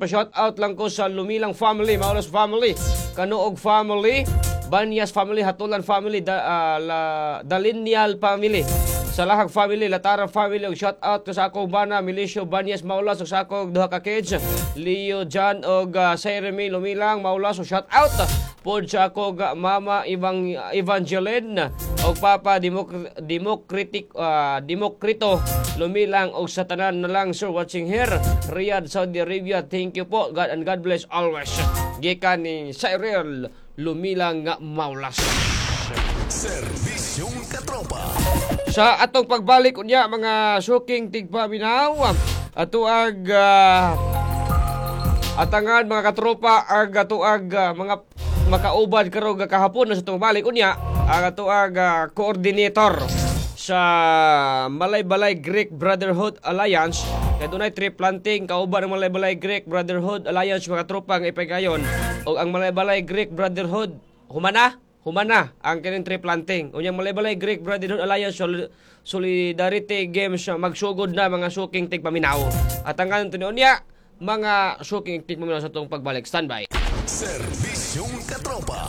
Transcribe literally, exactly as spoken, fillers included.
Pa-shout out lang ko sa Lumilang family, Maulas family, Kanuog family, Banyas family, Hatulan family, da, ah, la, Dalinial family. Sa Lahag family, Latara family, ug shout out ko sa akong bana, Milicio Banyas Maulas, ug sa akong duha ka kids, Leo John ug uh, Sairemi Lumilang Maulas, ug shout out pod sa akong uh, mama Ibang Evangeline ug papa Democr- Democratic uh, Democrito Lumilang ug sa tanan na lang, sir, watching here Riyadh, Saudi Arabia. Thank you po. God and God bless always. Gikan ni Cyril Lumilang Maulas. Serbisyong Katropa. Sa atong pagbalik unya, mga suking tigpaminaw, ato ag ah, atangan, mga katropa, ag ato ag ah, mga makauban karon nga kahapon sa atong balik unya ang ato ag ah, coordinator sa Malaybalay Greek Brotherhood Alliance kay dunay tree planting kauban ang Malaybalay Greek Brotherhood Alliance, mga tropa, nga ipagayon og ang Malaybalay Greek Brotherhood humana humana ang kining tree planting. Unyang Malaybalay Greek Brotherhood Alliance Sol- Solidarity Games uh, magsugod na, mga suking tigpaminaw. At ang ganito niya, mga suking tigpaminaw, sa itong pagbalik. Standby. Serbisyong Katropa.